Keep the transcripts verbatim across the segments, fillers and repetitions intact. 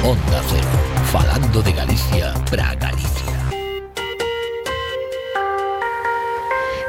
Onda Cero, falando de Galicia para Galicia.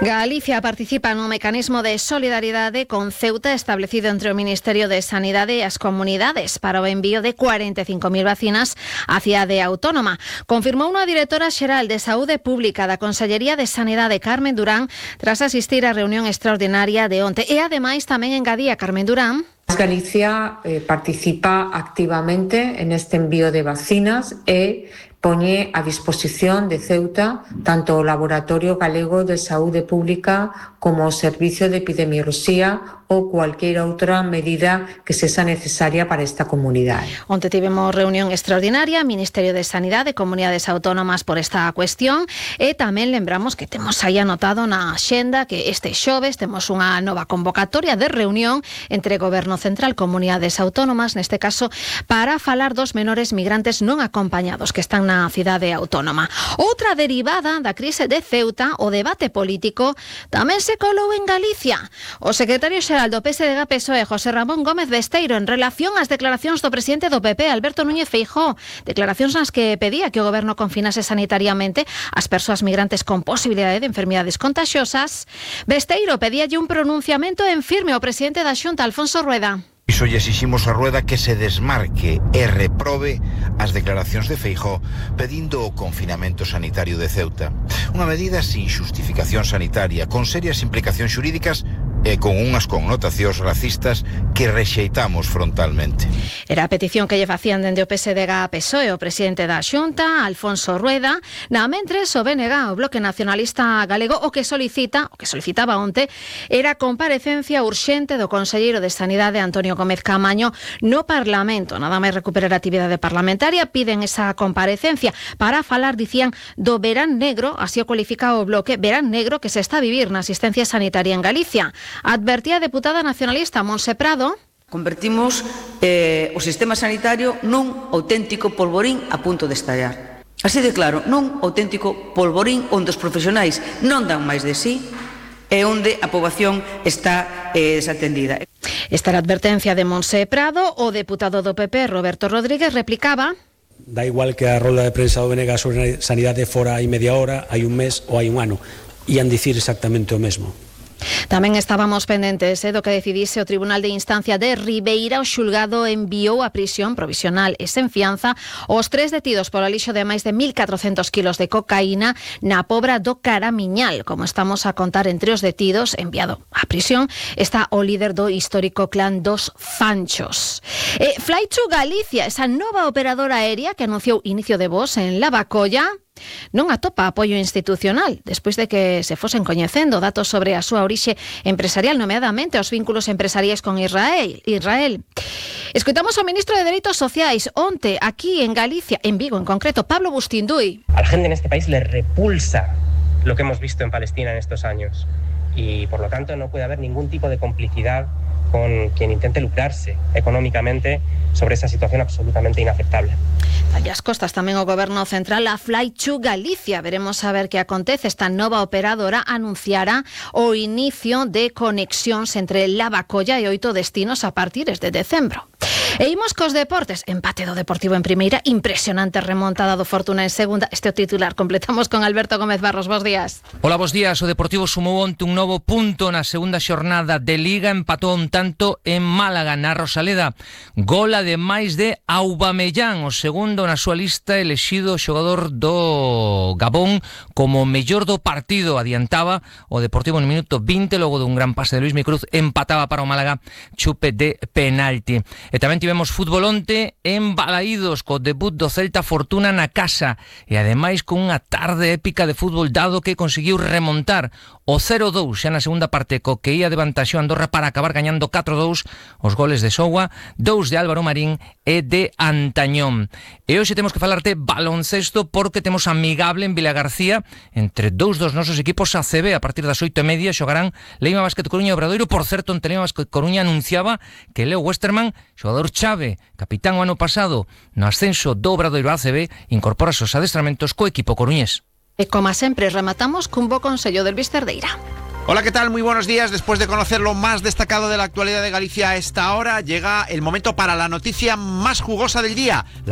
Galicia participa no mecanismo de solidaridade con Ceuta establecido entre o Ministerio de Sanidade e as comunidades para o envío de cuarenta e cinco mil vacinas á cidade autónoma. Confirmou unha directora xeral de Saúde Pública da Consellería de Sanidade, Carmen Durán, tras asistir á reunión extraordinaria de onte. E ademais tamén engadía Carmen Durán. Galicia eh, participa activamente en este envío de vacinas e poñe a disposición de Ceuta tanto o Laboratorio Galego de Saúde Pública como o Servicio de Epidemioloxía ou cualquier outra medida que sexa necesaria para esta comunidade. Onte tivemos reunión extraordinaria, Ministerio de Sanidade, Comunidades Autónomas por esta cuestión, e tamén lembramos que temos aí anotado na axenda que este xoves temos unha nova convocatoria de reunión entre Goberno Central, Comunidades Autónomas, neste caso, para falar dos menores migrantes non acompañados que están na cidade autónoma. Outra derivada da crise de Ceuta, o debate político, tamén se colou en Galicia. O secretario xeral do P S D G P S O E, José Ramón Gómez Besteiro, en relación ás declaracións do presidente do P P, Alberto Núñez Feijóo, declaracións nas que pedía que o goberno confinase sanitariamente as persoas migrantes con posibilidade de enfermidades contaxiosas, Besteiro pedíalle un pronunciamento en firme ao presidente da Xunta, Alfonso Rueda. Iso lle exiximos a Rueda que se desmarque e reprobe as declaracións de Feijóo pedindo o confinamento sanitario de Ceuta. Unha medida sin xustificación sanitaria, con serias implicacións xurídicas e con unhas connotacións racistas que rexeitamos frontalmente. Era a petición que lle facían dende o P S D G P S O E o presidente da Xunta, Alfonso Rueda. Na mentres, o B N G, o Bloque Nacionalista Galego, o que solicita, o que solicitaba onte, era a comparecencia urxente do conselleiro de Sanidade, Antonio Gómez Caamaño, no Parlamento. Nada máis recuperar a actividade parlamentaria, piden esa comparecencia para falar, dicían, do verán negro, así o cualifica o Bloque, verán negro que se está a vivir na asistencia sanitaria en Galicia. Advertía a deputada nacionalista Montse Prado. Convertimos eh, o sistema sanitario nun auténtico polvorín a punto de estallar. Así de claro, nun auténtico polvorín onde os profesionais non dan máis de sí e onde a poboación está eh, desatendida. Esta era a advertencia de Montse Prado. O deputado do P P, Roberto Rodríguez, replicaba: da igual que a rolda de prensa do B N G sobre sanidade fora hai media hora, hai un mes ou hai un ano. Ian dicir exactamente o mesmo. Tamén estábamos pendentes eh, do que decidise o Tribunal de Instancia de Ribeira. O xulgado enviou a prisión provisional e sen fianza os tres detidos polo alixo de máis de mil catrocentos kilos de cocaína na Pobra do Caramiñal. Como estamos a contar, entre os detidos enviado á prisión está o líder do histórico clan dos Fanchos. Eh, Fly to Galicia, esa nova operadora aérea que anunciou inicio de voos en Lavacolla, non atopa apoio institucional despois de que se fosen coñecendo datos sobre a súa orixe empresarial, nomeadamente os vínculos empresariais con Israel. Israel. Escoitamos ao ministro de Dereitos Sociais onte aquí en Galicia, en Vigo en concreto, Pablo Bustinduy. A la gente en este país le repulsa lo que hemos visto en Palestina en estos años y por lo tanto no puede haber ningún tipo de complicidad con quien intente lucrarse económicamente sobre esa situación absolutamente inaceptable. Dalle as costas tamén o Goberno Central a Fly to Galicia. Veremos a ver que acontece. Esta nova operadora anunciará o inicio de conexións entre Lavacolla e oito destinos a partir de decembro. E imos cos deportes. Empate do Deportivo en primeira, impresionante remontada do Fortuna en segunda. Este é o titular. Completamos con Alberto Gómez Barros. Bos días. Hola, bos días. O Deportivo sumou onte un novo punto na segunda xornada de Liga. Empatou un tanto en Málaga, na Rosaleda. Gol ademais de Aubameyang, o segundo na súa lista, elexido xogador do Gabón como mellor do partido. Adiantaba o Deportivo no minuto vinte, logo dun gran pase de Luis Micruz, empataba para o Málaga, chupe de penalti. E tamén tivemos fútbol onte en Balaídos, co debut do Celta Fortuna na casa, e ademais con unha tarde épica de fútbol dado que conseguiu remontar o cero dous xa na segunda parte, co que ia de vantaxo Andorra para acabar gañando catro dous, os goles de Soua, dous de Álvaro Marín e de Antañón. E hoxe temos que falarte baloncesto porque temos amigable en Vilagarcía entre dous dos nosos equipos A C B. A partir das oito e media xogarán Leima Basket Coruña e Obradoiro. Por certo, onte Leima Basket Coruña anunciaba que Leo Westerman, xogador chave, capitán o ano pasado no ascenso do Obradoiro A C B, incorpora os adestramentos co equipo coruñés. E como sempre, rematamos cun bo consello del Luis Cerdeira. Hola, ¿qué tal? Muy buenos días. Después de conocer lo más destacado de la actualidad de Galicia a esta hora, llega el momento para la noticia más jugosa del día. La